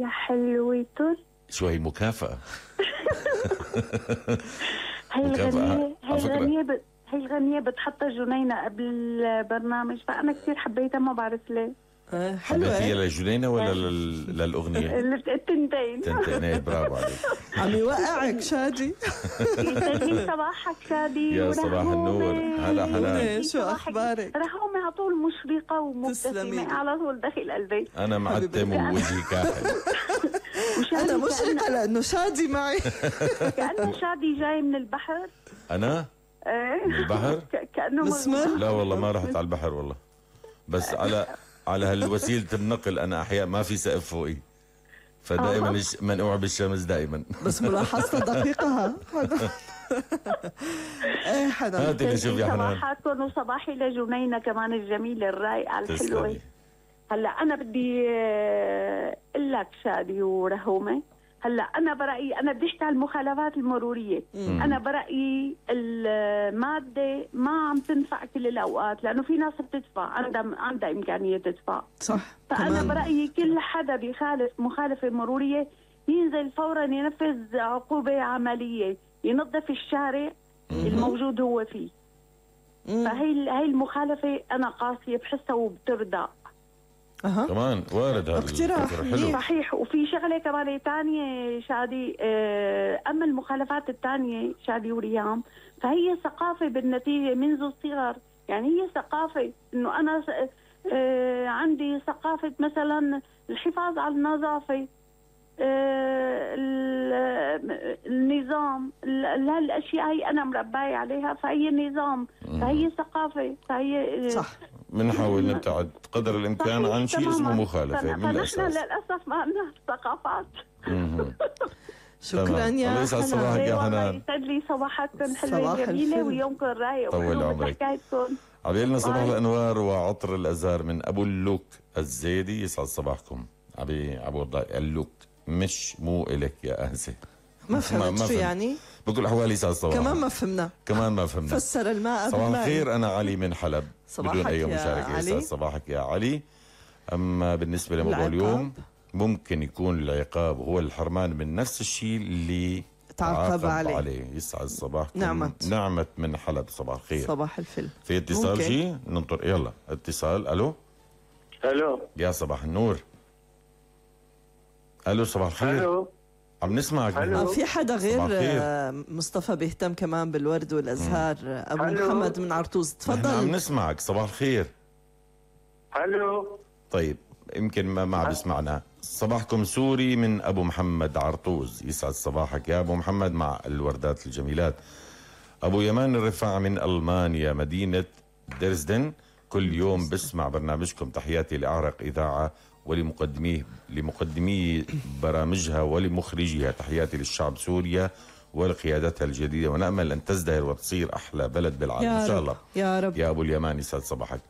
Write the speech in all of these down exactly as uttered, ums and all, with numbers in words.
يا حلوتر. شو هي مكافأة؟ هي مكافأة الغنية هي على فكرة. الغنية ب... هي الغنية بتحطها جنينة قبل البرنامج، فأنا كثير حبيتها ما بعرف ليه. آه حبيتيها حلوة. لجنينة ولا لل... للأغنية؟ التنتين. تنتين. إيه، برافو عليك. عم يوقعك شادي. يسعد لي صباحك شادي. يا صباح النور. هلا حنان. شو أخبارك؟ رحومة على طول مشرقة ومبتسمة على طول داخل قلبي. أنا معتم ووجهي كاحل. أنا مشرقة لأنه شادي معي. كأنه شادي جاي من البحر. أنا؟ ايه من البحر؟ كأنه مسمر؟ لا والله ما رحت على البحر والله، بس على على هالوسيلة النقل أنا أحياء ما في سقف فوقي، فدائما الش... منقوع بالشمس دائما. بس ملاحظة دقيقة ها. ايه حنان. هاتي نشوف يا حنان. صباحاتكم وصباحي لجنينة كمان الجميلة الرايقة الحلوة. تسلمي. هلا أنا بدي أقول لك شادي ورهومة، هلا أنا برأيي أنا بدي أحكي عن المخالفات المرورية. مم. أنا برأيي المادة ما عم تنفع كل الأوقات، لأنه في ناس بتدفع عندها عندها إمكانية تدفع. صح. فأنا كمان. برأيي كل حدا بيخالف مخالفة مرورية ينزل فورا ينفذ عقوبة عملية، ينظف الشارع الموجود هو فيه. مم. فهي هي المخالفة أنا قاسية بحسها وبتردى. أها. كمان وارد هذا اقتراح. الفكر حلو. صحيح. وفي شغلة كمان تانية شادي، أما المخالفات التانية شادي وريام فهي ثقافة بالنتيجة منذ الصغر. يعني هي ثقافة إنه أنا عندي ثقافة مثلا الحفاظ على النظافة، النظام، هالاشياء هي انا مربايه عليها، فهي نظام، فهي ثقافه، فهي صح. بنحاول نبتعد قدر الامكان عن شيء اسمه مخالفه من فنحن الاساس. للاسف ما عندنا ثقافات. شكرا يا الله يسعد صباحك يا حنان. يسعد لي صباحكم حلوه صباح جميله الفل. ويومكم رايق طول عمرك. حكايتكم. عبيلنا صباح باي. الانوار وعطر الازهار من ابو اللوك الزيدي. يسعد صباحكم. عبي ابو اللوك مش مو الك يا انسه. ما فهمت شو يعني؟ بكل الاحوال يسعد صباحك. كمان ما فهمنا. كمان ما فهمنا. فسر الماء صباح بالماء. الخير، انا علي من حلب. بدون اي مشاركه. يسعد صباحك يا علي. اما بالنسبه لموضوع اليوم، ممكن يكون العقاب هو الحرمان من نفس الشيء اللي تعاقب عليه. عليه. يسعد صباحكم. نعمت. نعمت من حلب. صباح الخير. صباح الفل. في اتصال شيء ننطر. يلا اتصال. الو. الو. يا صباح النور. الو صباح الخير. الو. عم نسمعك. آه في حدا غير مصطفى بيهتم كمان بالورد والازهار. ابو هلو. محمد من عرطوز، تفضل. عم نسمعك. صباح الخير. الو. طيب يمكن ما ما عم يسمعنا. صباحكم سوري من ابو محمد عرطوز. يسعد صباحك يا ابو محمد مع الوردات الجميلات. ابو يمان الرفاع من المانيا مدينه درزدن، كل يوم بسمع برنامجكم. تحياتي لاعرق اذاعه ولمقدميه لمقدمي برامجها ولمخرجيها. تحياتي للشعب سوريا ولقيادتها الجديده، ونامل ان تزدهر وتصير احلى بلد بالعالم ان شاء الله. يا رب. يا ابو اليمان يسعد صباحك.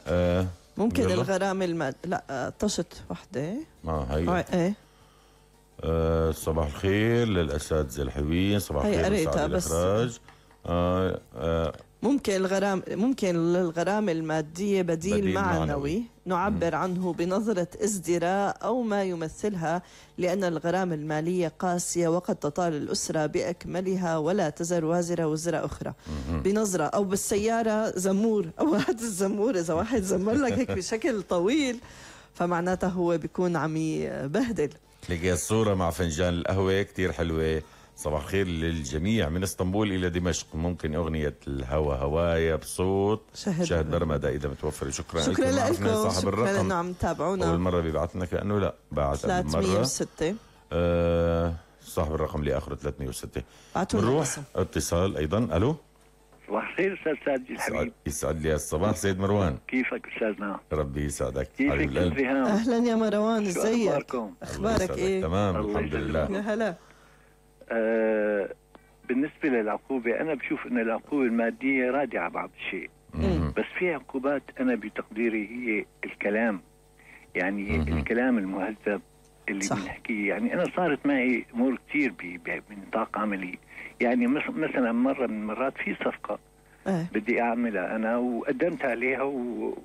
آه ممكن يلا. الغرامه الماد لا طشت وحده. اه هي آه ايه. آه صباح الخير للاساتذه الحلوين. صباح هي الخير قريتها لسعد بس. الاخراج. آه آه ممكن الغرام ممكن للغرامة المادية بديل, بديل معنوي, معنوي. نعبر م. عنه بنظرة ازدراء أو ما يمثلها، لأن الغرامة المالية قاسية وقد تطال الأسرة بأكملها ولا تزر وازرة وزر أخرى. م. بنظرة أو بالسيارة زمور أو هذا الزمور إذا واحد زمر لك هيك بشكل طويل فمعناته هو بيكون عم يبهدل. لقي الصورة مع فنجان القهوة كتير حلوة. صباح الخير للجميع من اسطنبول إلى دمشق. ممكن أغنية الهوى هوايا بصوت شهد, شهد برمدة إذا متوفرة. شكرا, شكرا لكم. صاحب الرقم لأنه عم تابعونا. أول مرة بيبعت لنا كأنه لا بعت ثلاثمية وستة. آه صاحب الرقم اللي آخره ثلاثمية وستة. نروح اتصال أيضا. ألو. صباح الخير أستاذ ساجد الحبيب. يسعد لي الصباح سيد مروان. كيفك أستاذنا؟ ربي يسعدك. كيفك الرهام؟ أهلا يا مروان، ازيك؟ أخباركم؟ أخبارك إيه؟ تمام الحمد لله. يا هلا. آه بالنسبة للعقوبة أنا بشوف أن العقوبة المادية رادعة بعض الشيء، بس في عقوبات أنا بتقديري هي الكلام، يعني مم. الكلام المهذب اللي بنحكيه. يعني أنا صارت معي أمور كثير بنطاق عملي. يعني مثلا مرة من المرات في صفقة أه. بدي أعملها أنا وقدمت عليها و...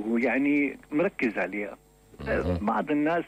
ويعني مركز عليها. أه. بعض الناس